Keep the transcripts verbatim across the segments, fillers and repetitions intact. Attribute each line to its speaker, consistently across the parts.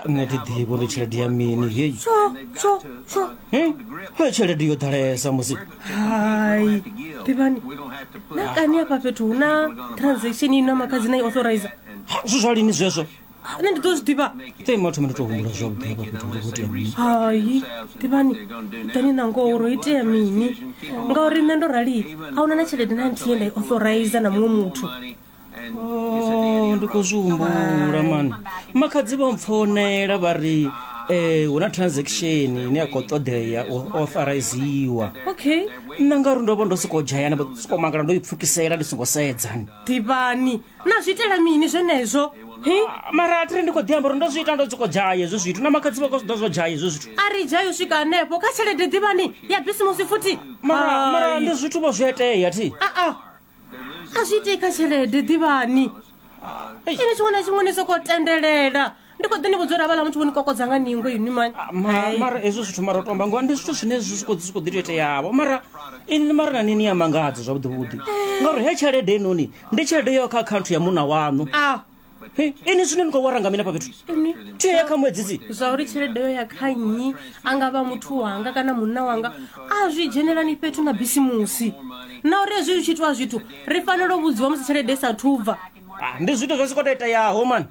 Speaker 1: Nṋe thi ḓivhi uri tshelede ya mini heyi.
Speaker 2: Tsho tsho tsho.
Speaker 1: He tshelede yo ḓalesa musi.
Speaker 2: Hai ḓivhani, na kani afha fhethu hu na transaction ino makhadzi na i authorizer?
Speaker 1: Ha, zwi zwa lini zwezwo?
Speaker 2: Nṋe ndi ḓo zwi ḓivha.
Speaker 1: Te mathoma ndo tou humbula zwavhuḓi hafha fhethu uri ho itea mini.
Speaker 2: Hai ḓivhani, ḓani na ngoho uri ho itea mini, ngauri nṋe ndo rali a huna na tshelede na nthihi ye nda i authorizer na muṅwe muthu.
Speaker 1: Oh, ndi khou zwi humbula mani, makhadzi vho mpfounela vha ri eh hu na transaction ine ya khou ṱoḓea u authoriziwa.
Speaker 2: Okay.
Speaker 1: Nṋe ngauri ndo vha ndo sokou dzhayana, vha sokou mangala ndo i pfukisela ndi songo sedza.
Speaker 2: Ḓivhani, na zwi itela mini zwenezwo? Hi?
Speaker 1: Mara a thiri ndi khou ḓi amba uri ndo zwi ita ndo sokou dzhaya hezwo zwithu, na makhadzi vha khou zwi ḓo zwo dzhaya hezwo zwithu.
Speaker 2: A ri dzhaya u swika hanefho kha tshelede ḓivhani ya bisimusi futhi.
Speaker 1: Mara mara
Speaker 2: Hai.
Speaker 1: ndi zwithu vho zwi a itea thi.
Speaker 2: Aa, a zwi itei kha tshelede ḓivhani. Ini tshiṅwe na tshiṅwe ni sokou tendelela. Ndi khou ḓi ni vhudza uri havhaḽa muthu vho ni kokodza nga ningo inwi mani.
Speaker 1: Ah, ma- mara hezwo zwithu mara u tomba ngoho ndi zwithu zwine zwi sokou zwi khou ḓi tou iteavho, mara ini mara na nini ya mangadza zwavhuḓi vhuḓi, ngauri he tshelede inoni ndi tshelede yo kha akhaunthu ya munna waṋu.
Speaker 2: A
Speaker 1: He, ini zwine ni khou wara nga mini hafha fhethu?
Speaker 2: Ini
Speaker 1: Thi ya kha muedzisi.
Speaker 2: Zwa uri tshelede yo ya kha nnyi, a nga vha muthu wanga kana munna wanga, a zwi dzhenelani fhethu na bisimusi. Na uri hezwi zwi tshi itiwa zwithu ri fanela u vhudziwa musi tshelede i sathu bva.
Speaker 1: Ah, ndi zwithu zwo sokou tou iteaho mani.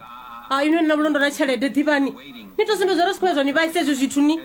Speaker 2: A inwi ni na vhulondo na tshelede ḓivhani, ni to sumbedza uri zwi khou ya zwa ni vhaisa hezwi zwithu ni.